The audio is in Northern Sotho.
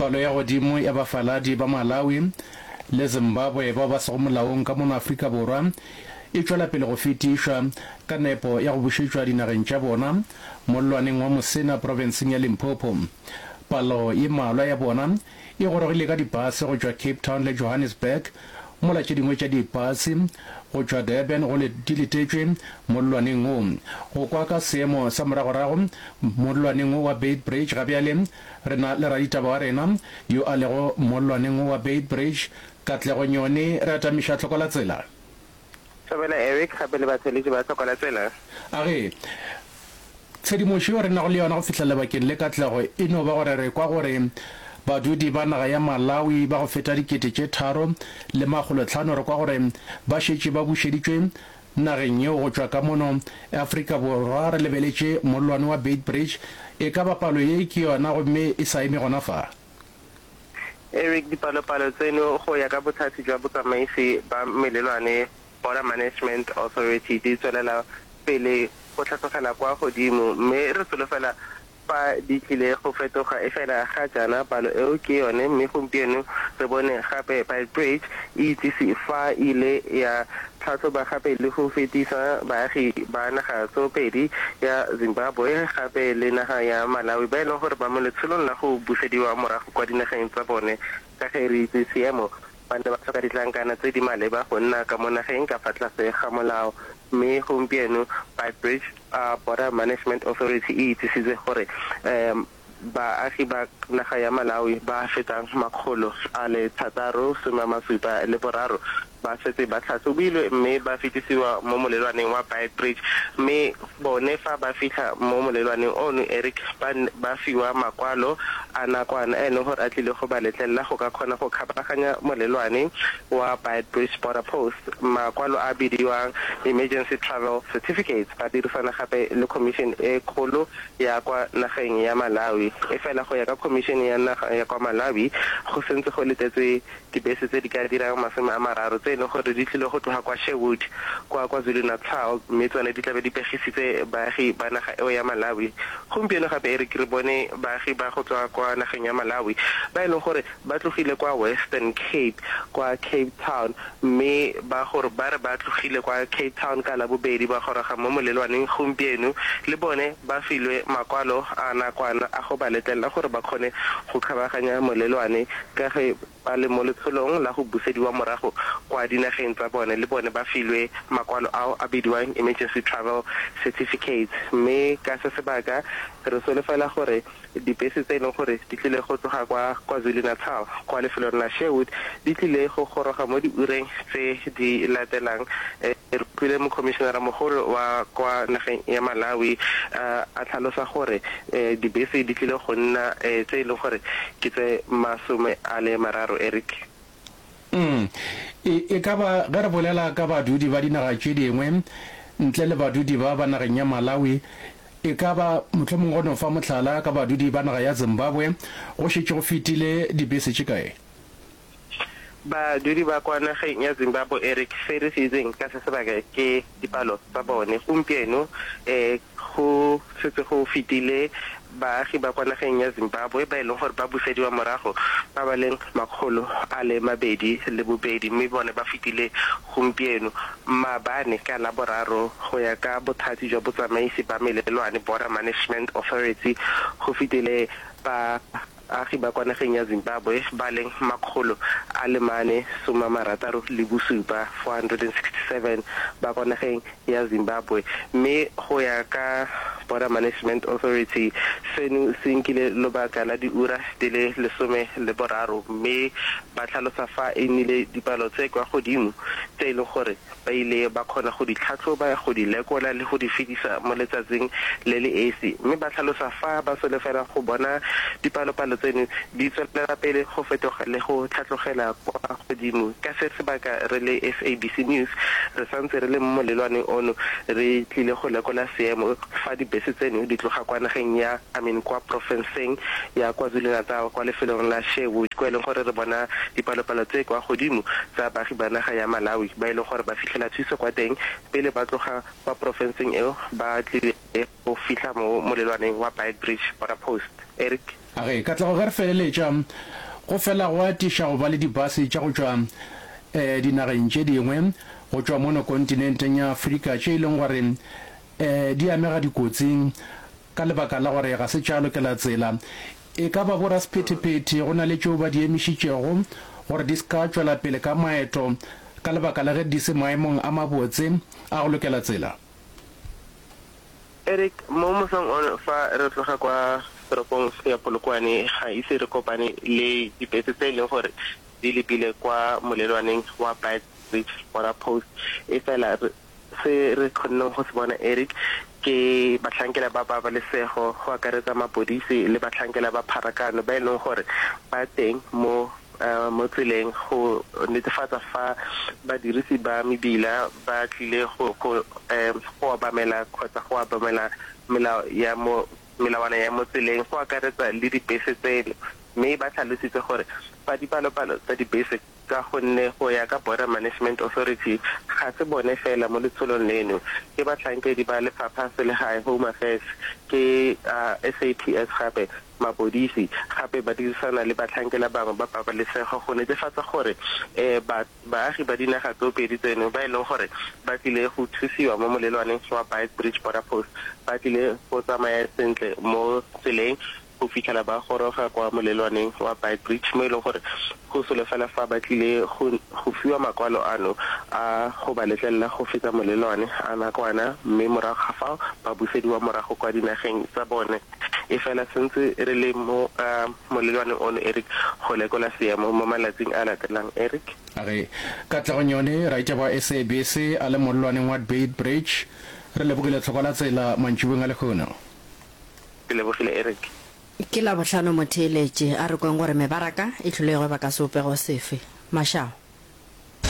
Palo ya godimo ya bafaladi ba Malawi le Zimbabwe bao ba sego molaong ka mono Afrika Borwa e tšwela pele go fetišwa ka nepo ya go bušetšwa dinageng tša bona mollwaneng wa Musina profenseng ya Limpopo. Palo ye mmalwa ya bona e gorogile ka dipase go tšwa Cape Town le Johannesburg mola tše dingwe tša dipase go tšwa Durban go di letetšwe mollwaneng wo. Go kwa ka seemo sa moragorago mollwaneng wo wa Beitbridge ga bjale re na le raditaba wa rena yo a lego mollwaneng wo wa Beitbridge, Katlego Nyoni, re atamiša tlhoko la tsela. Thobela Eric gape le batheeletši ba tlhoko la tsela. A ge tshedimošo yeo re nago le yona go fihla lebakeng le Katlego e no ba gore re kwa gore badudi ba naga ya Malawi ba go feta 3500 re kwa gore ba šetše ba bušeditšwe nageng yeo go tšwa ka mono Afrika Borwa re lebeletše mollwane wa Beitbridge e ka ba palo ye ke yona gomme e sa eme gona fa. Eric, Dipalopalo tseno go ya ka Bothati jwa Botsamaisi ba Melelwane, Border Management Authority, di tswelela pele go hlatlogela kwa godimo mme re solofela fa di tlile go fetoga efela ga jaana palo eo ke yone mme gompieno re bone gape Beitbridge e itsise fa e ile ya tlhahloba gape le go fetisa baagi ba naga tsoopedi ya Zimbabwe gape le naga ya Malawi ba e leng gore ba mo letsholong la go busediwa morago kwa dinageng tsa bone ka ge re itse seemo ba ne ba tlhoka ditlankana tse di maleba go nna ka mo nageng ka fa tlase ga molao mme gompieno Beitbridge Border Management Authority e itsisitse gore Baagi ba naga ya Malawi ba fetang 673 ba setse ba tlhatlhobilwe mme ba fetisiwa mo molelwaneng wa Beitbridge mme bone fa ba fitlha mo molelwaneng ono Eric ba ba fiwa makwalo a nakwana a e leng gore a tlile go ba letlelela go ka kgona go kgabaganya molelwane wa Beitbridge Border Post makwalo a bidiwang Emergency Travel Certificates ba dirisana gape le Commission e kgolo ya kwa nageng ya Malawi. Efela go ya ka Khomišene ya Naga ya kwa Malawi, go sentse go letetswe dibese tse di ka dirang 30 tse e leng gore di tlile go tloga kwa Sherwood kwa KwaZulu-Natal mme tsone di tlabe di pegisitse baagi ba naga eo ya Malawi. Gompieno gape e re ke re bone baagi ba go tswa kwa nageng ya Malawi ba e leng gore ba tlogile kwa Western Cape kwa Cape Town mme ba gore ba re ba tlogile kwa Cape Town ka Labobedi ba goroga mo molelwaneng gompieno, le bone ba filwe makwalo a nakwana a go ba letlelela gore ba kgone go kgabaganya molelwane ka ge ba le mo letsholong la go busediwa morago kwa dinageng tsa bone, le bone ba filwe makwalo ao a bidiwang Emergency Travel Certificates mme ka se sebaka re solofela gore Dibese tse e leng gore di tlile go tloga kwa KwaZulu-Natal kwa lefelong la Sherwood di tlile go goroga mo diureng tse di latelang. Re utlwile mokhomišenaramogolo wa kwa nageng ya Malawi a tlhalosa gore dibese di tlile go nna tse e leng gore ke tse 30, Eric. Mm. E, e ka ba ge re bolela ka badudi ba dinaga tše dingwe ntle le badudi ba ba nageng ya Malawi, e ka ba mohlomongwe go no fa mohlala ka badudi ba naga ya Zimbabwe, go šetše go fetile dibese tše kae? Badudi ba kwa nageng ya Zimbabwe, Eric, se re se itseng ka se sebaka ke dipalo tsa bone. Gompieno, e, go setse go fetile baagi ba kwa nageng ya Zimbabwe ba e leng gore ba busediwa morago ba ba leng 202 mme bone ba fetile gompieno, maabane, ka Laboraro, go ya ka Bothati jwa Botsamaisi ba Melelwane, Border Management Authority, go fetile baagi ba kwa nageng ya Zimbabwe ba leng 467, 467, ba kwa nageng ya Zimbabwe mme go ya ka Border Management Authority seno se nkile lobaka la diura di le 13 mme ba tlhalosa fa e nnile dipalo tse kwa godimo tse e leng gore ba ile ba kgona go di tlhatlhoba, go di lekola le go di fetisa mo letsatsing le le esi mme ba tlhalosa fa ba solofela go bona dipalopalo tseno di tswelela pele go fetoga le go tlhatlogela kwa godimo. Ka se sebaka re le SABC News re santse re le mo molelwaneng ono re tlile go lekola seemo fa di. Dibese tseno di tloga kwa nageng ya, I mean kwa profenseng ya KwaZulu-Natal kwa lefelong la Sherwood kwa e leng gore re bona dipalopalo tse kwa godimo tsa baagi ba naga ya Malawi ba e leng gore ba fitlhela thuso kwa teng pele ba tloga kwa profenseng eo ba tlile go fihla mo molelwaneng wa Beitbridge Border Post. Eric. A re, Katlego ge re feleletša, go fela go atiša go ba le dibase tša go tšwa dinageng tše dingwe go tšwa mono kontinenteng ya Afrika tše e leng gore di amega dikotsing ka lebaka la gore ga se tša lokela tsela. E ka ba borasephethephethe go na le tšeo ba di emišitšego gore di se ka tšwela pele ka maeto ka lebaka la ge di se maemong a mabotse a go lokela tsela. Eric, Mo mosong ono fa re tloga kwa toropong ya Polokwane ga ise re kopane le dibese tse e leng gore di lebile kwa molelwaneng wa Beitbridge Border Post. Efela se re kgonneng go se bona Eric ke bahlankela ba pabalesego go akaretsa mapodisi le bahlankela ba pharakano ba e leng gore ba teng mo mo tseleng go netefatsa fa badirisi ba mebila ba tlile go go go obamela kgotsa go obamela melao ya mo melawana ya mo tseleng go akaretsa le dibese tseno mme ba tlhalositse gore fa dipalopalo tsa dibese ka gonne go ya ka Border Management Authority ga se bone fela mo letsholong leno, ke batlhankedi ba lefapha selegae, Home Affairs, ke SAPS gape mapodisi gape ba dirisana le batlhankela bangwe ba pabalesego go netefatsa gore baagi ba dinaga tsoopedi tseno ba e leng gore ba tlile go thusiwa mo molelwaneng wa Beitbridge Border Post ba tlile go tsamaya sentle mo tseleng go fitlhela ba goroga kwa molelwaneng wa Beitbridge mo e leng gore go solofela fa ba tlile go go fiwa makwalo ano a go ba letlelela go feta molelwane a nakwana mme morago ga fao ba busediwa morago kwa dinageng tsa bone. E fela sentse re le mo molelwaneng ono Eric go lekola seemo mo malatsing a latelang Eric. A re, Katlego Nyoni, raitaba wa SABC a le mollwaneng wa Beitbridge, re lebogile tlhoko la tsela mantšiboeng a lehono. Ke lebogile Eric. Ke Labohlano motheeletši, a re kweng gore mebaraka e hlile e gweba ka sebopego sefe. Mašao.